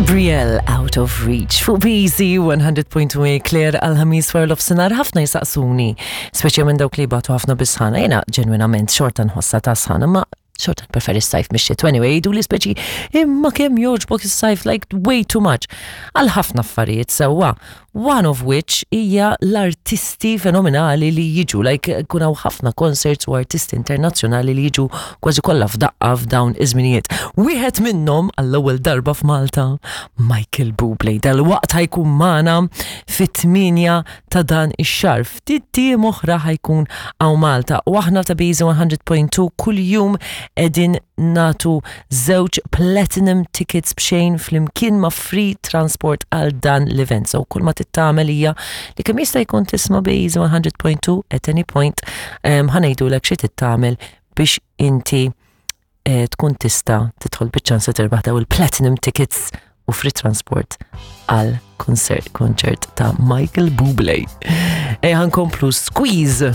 Gabriel Out of Reach fuq BZ 100.1 Claire għal-ħamis wara l-ofsinar ħafna jisaqsuni, speċi minn dawk li batu ħafna bisħana, jena ġenwinament xorta nħossa ta' sħana, ma xorta preferi s-sajf mix Anyway, jgħidu li speċi imma kemm jogħġbok is-sajf like way too much. Għal ħafna affarijiet sewwa. One of which hija l-artisti fenomenali li jiġu, like kun hawn ħafna concerts u artisti internazzjonali li jiġu kważi kollha f'daqqa f'dawn iż-żminijiet. Wieħed minnhom għall-ewwel darba f'Malta, Michael Bublé. Dalwaqt ħajkun magħna fit-8 ta' dan ix-xahar. Ftit tiem oħra ħajkun hawn Malta u aħna ta' Biżi 100.2 kuljum qegħdin natu żewġ platinum tickets b'xejn flimkien ma' free transport għal dan l-event. So kull ma tittamel hija li kemm jista' jkun tisma' Biżi 100.2 at any point ħa ngħidulek xi tittamel biex inti eh, tkun tista' tidħol biċ-ċans li tirbaħ daw il-platinum tickets u free transport għal konċert ta' Michael Bublé. Ejja nkomplu Squeeze!